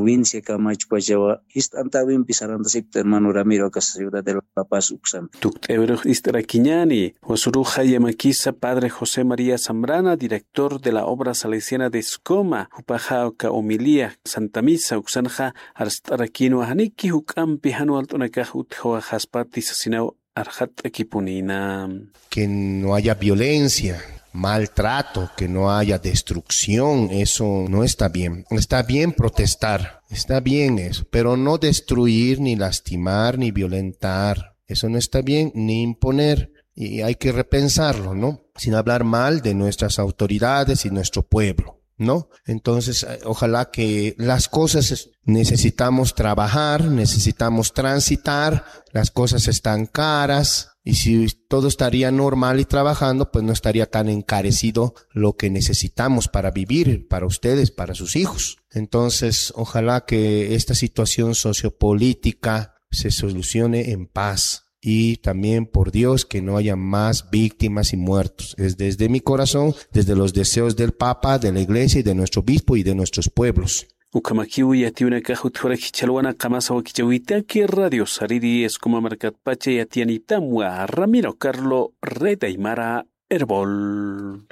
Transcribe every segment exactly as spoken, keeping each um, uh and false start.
provincia Camachopachawa, jist'antäwimpi sarantasikta hermano Ramiro, aka ciudad de La Paz uksan. Tukt'äwirux ist'arakiñäni, wasuruxa yamakisa padre José María Zambrana, director de la obra salesiana de Escoma, jupaxa aka homilía Santa Misa uksanxa arst'arakinwa, janiki juk'ampi jan walt'unakax utjawaxaspati sasinaw arxatt'akipunïna. Que no haya violencia, maltrato, que no haya destrucción, eso no está bien. Está bien protestar, está bien eso, pero no destruir, ni lastimar, ni violentar. Eso no está bien, ni imponer. Y hay que repensarlo, ¿no? Sin hablar mal de nuestras autoridades y nuestro pueblo, ¿no? Entonces, eh, ojalá que las cosas es-, necesitamos trabajar, necesitamos transitar, las cosas están caras, y si todo estaría normal y trabajando, pues no estaría tan encarecido lo que necesitamos para vivir, para ustedes, para sus hijos. Entonces, ojalá que esta situación sociopolítica se solucione en paz. Y también por Dios que no haya más víctimas y muertos. Es desde mi corazón, desde los deseos del Papa, de la Iglesia y de nuestro obispo y de nuestros pueblos. Ukhamakiw yatiyunakax utjarakiw chhalwana, qamasa wakichäwitaki Radio Sariri Escoma markatpacha yatiyanitamwa. Ramiro Carlo, Red Aymara, Erbol.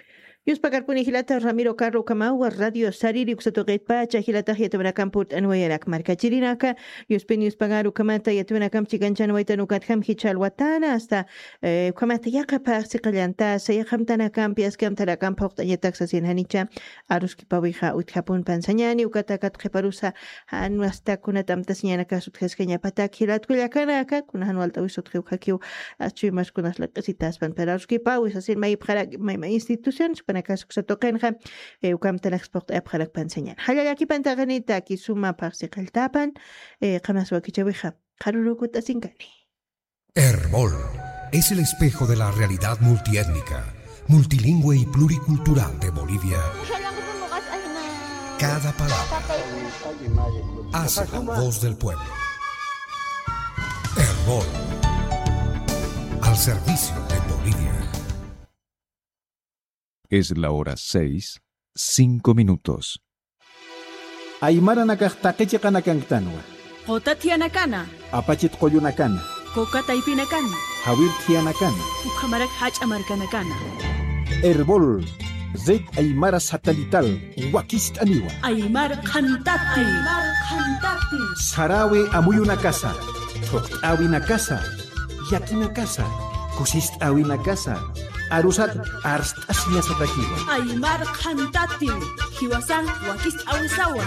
Yuspakarpuni jilata Ramiro Carlo, ukhamawa Radio Sariri uksa tuqitpacha jilatax yatiyunakamp purt'anwayarak markachirinaka. Yuspin yuspagar ukhamata yatiyunakamp chikanchänwaytan ukatjam jichhälwatäna hasta, eh, ukhamata yaqha phaxsi qallantasa, yaqha amtanakampi, aski amtanakamp phuqt'añatak sasin janicha aruskipäwixa utjapun pansañäni, ukatakat qhiparusa jan wasta kunat amtasiñanakax utjaskañapatak jilat kullakanaka, kuna jan walt'äwis utjiw jakiw, achuy mas kunas laq'isitaspan, pero aruskipäwi sasin mayipxarak, may, may instituciones, panakax uksa tuqinxa, eh, uka amtanakas phuqt'ayapxarak pansañäni. Jalla llakipan taqinitaki suma phaxsi qalltapan, eh, qamasa wakichäwixa, qharürukut'asinkani. Erbol es el espejo de la realidad multiétnica, multilingüe y pluricultural de Bolivia. Cada palabra hace la voz del pueblo. Erbol, al servicio de Bolivia. Es la hora seis, cinco minutos. Aymaranakax taqi chiqanakanktänwa. Quta thiyanakan. Apachit qullunakana. Coca taypinakan. Jawir thiyanakan. Ukhamarak jach'a markanakan. Erbol, Red Aymara Satelital, wakist'aniwa. Aymar qhantati. Aymar qhantati. Saräwi amuyunakasa, thuqt'äwinakasa, yakinakasa, kusist'äwinakasa, arusat arst'asiñasatakiwa. Aymar qhantati, jiwasan wakist'äwisawa.